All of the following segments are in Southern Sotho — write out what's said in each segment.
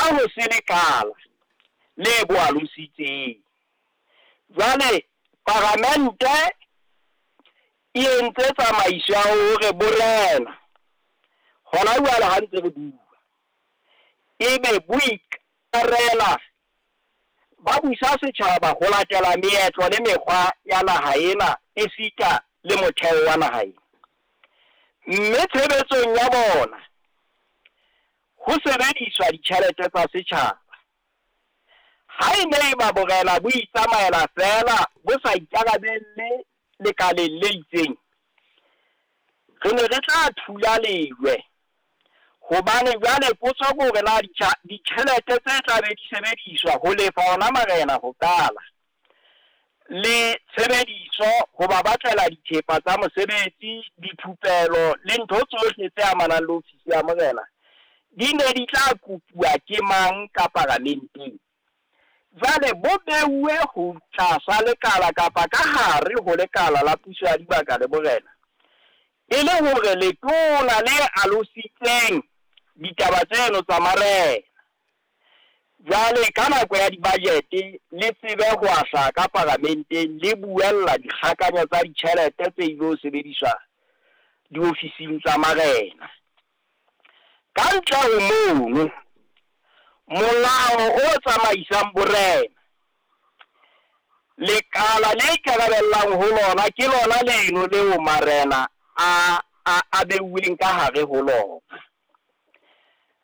Ha ho se lekala le bo alositseng. Jwale paramente e entse tsamaiso ya hore borena hona jwale ha ntse re bua, ebe bo ikarela ba busa setjhaba ho latela meetlo le mekgwa ya naha ena esita le motheo wa naha ena. Mme tshebetsong ya bona ho sebediswa ditjhelete tsa setjhaba. Ha e ne eba borena bo itsamaela feela bo sa ikarabelle lekaleng le itseng, re ne re tla thula lejwe. Hobane jwale potso ke hore na ditjhelete tse tla be di sebediswa ho lefa ona marena ho qala, le tshebediso ho ba batlela dithepa tsa mosebetsi, dithupelo le ntho tsohle tse amanang le ofisi ya morena, di ne di tla kopuwa ke mang ka paramenteng. Jwale bo beuwe ho tlasa lekala kapa ka hare ho lekala la puso ya dibaka le borena, e le hore letona le alositseng ditaba tseno tsa marena jwale ka nako ya di-budget le tsebe ho ahla ka paramenteng le buella dikgakanyo tsa ditjhelete tse ilo sebediswa diofising tsa marena. Ka ntle ho mono, molao o tsamaisang borena, lekala le ikarabellang ho lona ke lona leno leo marena a beuweng ka hare ho lona.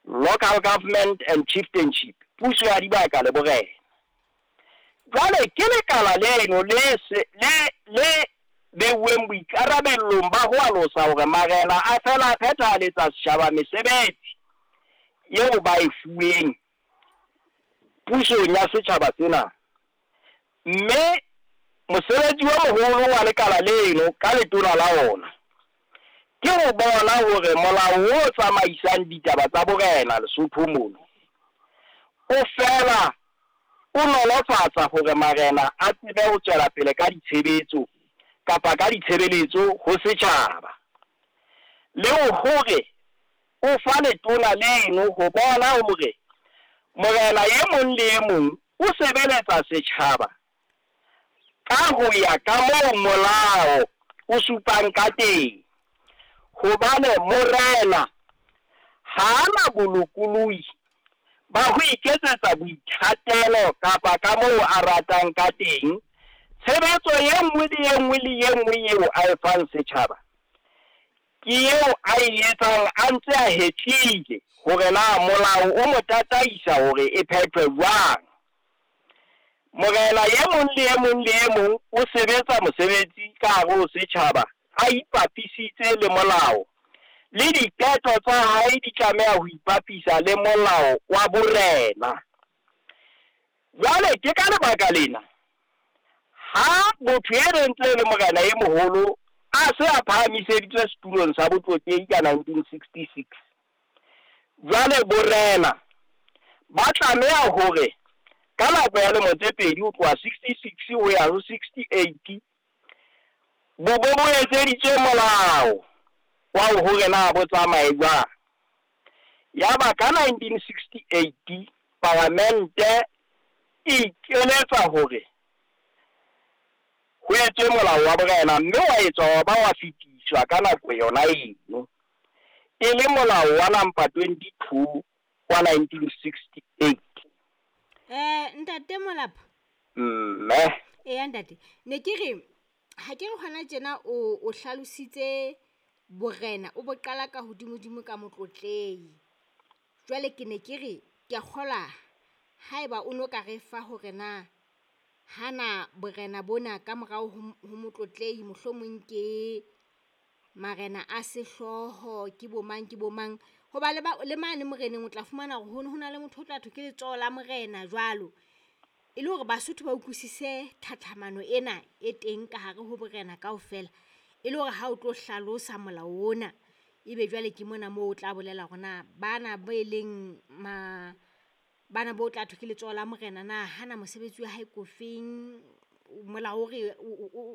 Local Government and Chieftainship, puso ya dibaka le borena. Jwale ke lekala leno le beuweng boikarabellong ba ho alosa hore marena a fela a phethahaletsa setjhaba mesebetsi eo ba e fuweng pusong ya setjhaba sena. Mme mosebetsi o moholo wa lekala leno ka letona la ona ke ho bona hore molao o tsamaisang ditaba tsa borena Lesotho mono o fela o nolofatsa hore marena a tsebe ho tswela pele ka ditshebetso kapa ka ditshebeletso ho setjhaba, le hore o fa letona leno ho bona hore morena e mong le e mong o sebeletsa setjhaba ka ho ya ka moo molao o supang ka teng. Hobane morena ha ana bolokolohi ba ho iketsetsa boithatelo kapa ka moo a ratang ka teng. Tshebetso e nngwe le e nngwe le e nngwe eo a e fang setjhaba ke eo a e etsang a ntse a hetlile hore na molao o mo tataisa hore e phethwe jwang. Morena e mong le e mong le e mong o sebetsa mosebetsi ka hare ho setjhaba a ipapisitse le molao, le diqeto tsa hae di tlameha ho ipapisa le molao wa borena. Jwale ke ka lebaka lena ha motho e ntse le morena e moholo a se a phahamiseditswe setulong sa botlotlehi ka 1966, jwale borena ba tlameha hore ka nako ya lemo tse pedi ho tloha 66 ho ya ho 68 bo bo etseditswe molao wa hore na bo tsamaye jwang. Yaba ka 1968 paramente e ikeletsa hore ho etswe molao wa borena, mme wa etswa wa ba wa fetiswa ka nako yona eno, e le molao wa number 22 wa 1968. Ntate Molapo. Mme. Eya ntate, ne ke re ha ke re hona tjena o hlalositse borena o bo qala ka hodimodimo ka motlotlehi. Jwale ke ne ke re ke a kgola haeba o no ka re fa hore na hana borena bona ka morao ho motlotlehi mohlomong ke marena a sehlooho ke bo mang hoba le mane moreneng o tla fumana hore ho na le motho o tla thwe ke letsoho la morena jwalo, e le hore Basotho ba utlwisise tlhatlhamano ena e teng ka hare ho borena kaofela, e le hore ha o tlo hlalosa molao ona ebe jwale ke mona moo o tla bolela hore na bana ba e leng ma bana bo tla thwe ke letsoho la morena na hana mosebetsi wa hae ko feng, molao o re